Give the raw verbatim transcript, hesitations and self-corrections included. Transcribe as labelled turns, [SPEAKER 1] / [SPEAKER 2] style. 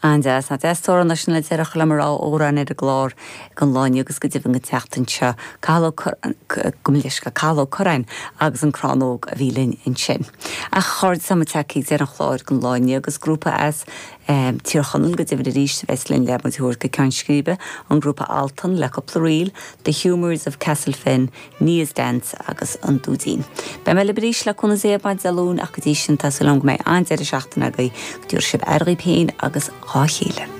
[SPEAKER 1] An-deas ná deas tóra sin le deire le mar órán ar an gclár don lá inniu agus go deimhin an tseachtain seo Cathal go leis go Cathal Ó Curráin agus an Crannóg a bhí linn ansin. Ach chuir sam teí ar an chlár don lá inniu agus grúpa as um, Tír Chonaill go deimhin arís bheas linn le muid go ceann scríbe an grúpa Altan le cúpla ríl, The Humours of Castlefin, Nias Dance agus an Dúidín. Beidh mé libh arís le cúnamh Dé maidin Dé Luain ach go dtí sin tá súil agam go mbeidh an-deireadh seachtaine agaibh go dtabharfaidh sibh aire daoibh féin agus dá chéile.